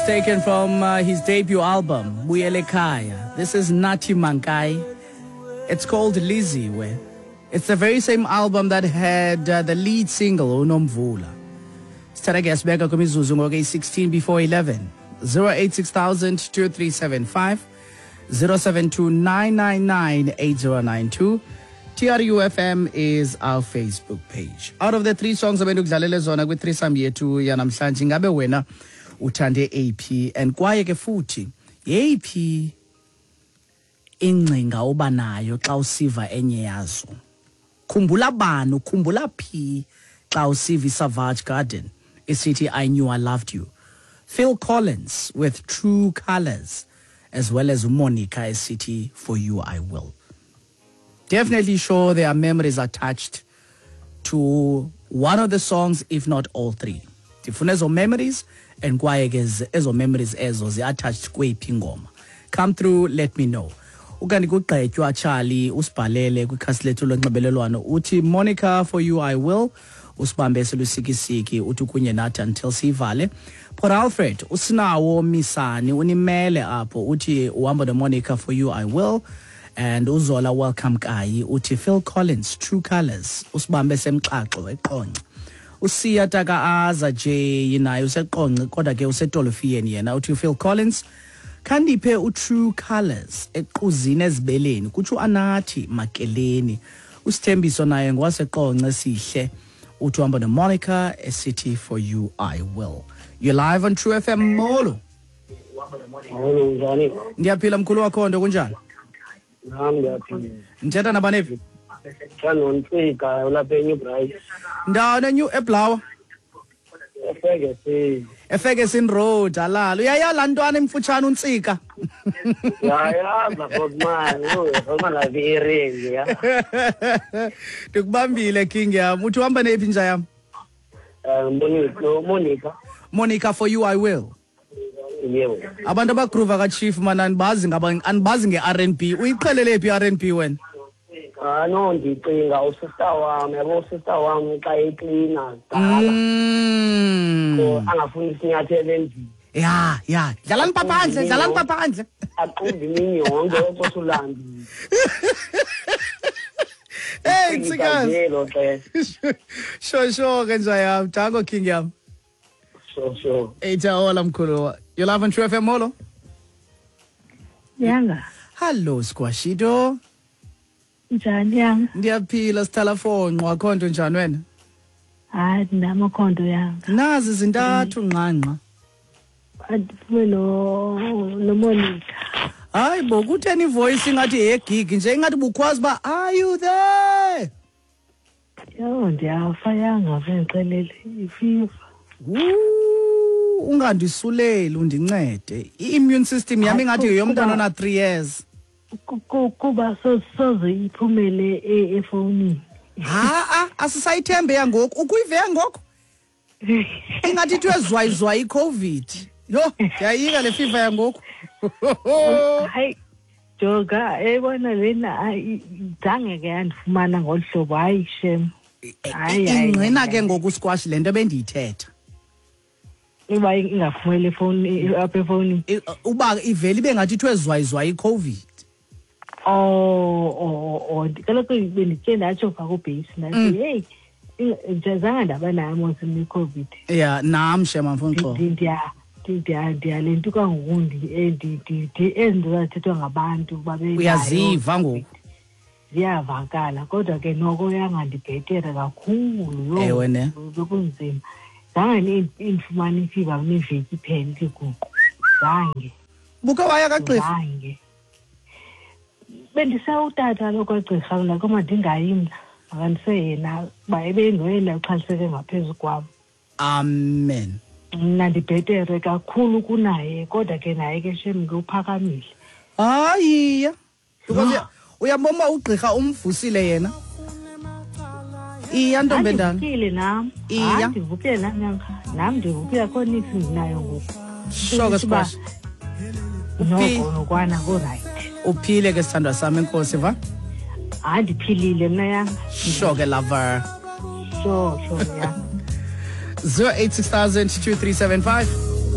It's taken from his debut album, Buyelekhaya. This is Nathi Mankayi. It's called Liziwe. It's the very same album that had the lead single, Unomvula. Sithatha ke sibeka kwimizuzu ngoku eyi-16 before 11. 086 2375 072 999 8092. TRUFM is our Facebook page. Out of the three songs abendikudlalele zona kwi-threesome yethu yanamhlanje, ingabe wena uthande AP and kwaye ke futhi yeyiphi ingcinga oba nayo xa usiva enye yazo? Khumbula bani, ukhumbula phi xa usiva iSavage Garden isithi "I Knew I Loved You"? Phil Collins with "True Colors", as well as uMonica esithi "For You I Will". Definitely sure there are memories attached to one of the songs, if not all three. Ndifuna ezo memories and kwaye ke ezo memories ezo zi-attached kweyiphi ingoma. Come through, let me know. Ukanti kugqetywa Charlie usibhalele kwikhasi lethu lonxibelelwano, uthi Monica, "For You I Will". Usibambe selusikisiki, uthi kunye nathi until siyivale. Port Alfred, usinawo Misani unimele apho, uthi uhamba noMonica, "For You I Will". And uZola Welcome Kayi uthi Phil Collins, "True Colors". Usibambe semxaxo eQonce. Usiya taka aza J naye useQonce, kodwa ke usetolofiyeni yena, uthi Phil Collins, khandiphe uTrue Colors equzini ezibeleni, kutsho Anathi Makeleni. Usithembiso naye ngwaseQonce sihle, uthi uhamba noMonica esithi "For You I Will". You're live on True FM, molo. Molo, njani? Ndiyaphila, mkhulu wakho nto, kunjani? Nam ndiyaphila. Ndithetha nabanephi? Nontsika ulapha eNew Bright. Ndawona New eBlawa? eFerguson. eFerguson Road, alala uyayala ntwana emfutshane uNtsika. Yayaza Fokman, Fokman lapha eRengi ya. Ndikubambile, king yam. Uthi uhamba neyiphi inja yam? Monica, Monica. Monica, "For You I Will"? Yebo. Abantu abagroova kachief mana andibazi ngaba andibazi nge-R&B. Uyiqhelele phi i-R&B wena? Ah no, ndicinga usister wam, yabo, usister wam xa eklina kudala. So angafuni isinyathelo endlini. Ya, dlalani pha phandle, dlalani pha phandle. Aqumbe imini yonke okosulambile. Hey, Ntsikazi. Ngelo xesha. Sure ke nja yam, danko king yam. Sure. Eyitha mkhulu. You're live on True FM, molo. Yanga. Hallo, Squashito. Njani yanga? Ndiyaphila, sithala fonqo, akho nto, njani wena? Hayi, ndinamakhondo yanga. Nazi zintathu nqanqa. Andiphume no noMonica. Hayi bo, kutheni ivoice ingathi yegig nje, ingathi bukhwazi uba "Are you there?" Yho, ndiyafa yanga, vendixelele ifiva. Woo, ungandisuleli, undincede. I-immune system yam ingathi yeyomntana ona-3 years. Kuba soze iphumele efowunini. Ha-a, asisayithembe yangoku, ukuyive yangoku ingathi ithiwe zwayizwayi iCOVID. Yho, ndiyayika le fiva yangoku. Hayi jonga, eyibona lena, hayi, zange ke yandifumana ngolu hlobo, hayi shem. Hayi, hayi, Ingqina hayi. Ke ngoku squash le nto bendiyithetha. Uba ingaphumeli efowuni, apha efowunini. Uba ivele ibe ngathi ithiwe zwayizwayi iCOVID. Oh, kaloku benditye ndatsho phaa kubheyisi, ndathi heyi, zange ndaba nayo mos mna iCOVID. Ya, nam shem, andifuni uxoka. Ndiyalentuka ngoku, ezi nto zazithethwa ngabantu babenayo. Uyaziva ngoku. Ziyavakala, kodwa ke noko yangandibhetere kakhulu, yho. Ewe ne. Bekunzima, zange indifumane ifiva neveki iphele ithi guqu, zange. Buke waya kagqirha? Zange. Bendisewutata lo kwagqirha mna, kodwa ndingayi mna, makandise yena uba ebengoyena uxhaliseke ngaphezu kwam. Amen. Mna ndibhetere kakhulu kunaye, kodwa ke naye ke shem ke uphakamile. Hayiya, because uyabona uba ugqirha umvusile yena. Iya, ntombi endala. Ndivukile nam. Iya. Hayi, ndivukile nam nyanga, nam ndivukile, akho nix ndinayo ngoku. Sure ke, Squash. Noko nokwana kurayithi. Uphile ke, sithandwa sami, enkosi va. Hayi, ndiphilile mna yanga. Sure ke, lover. Sure, yanga. 086 2375.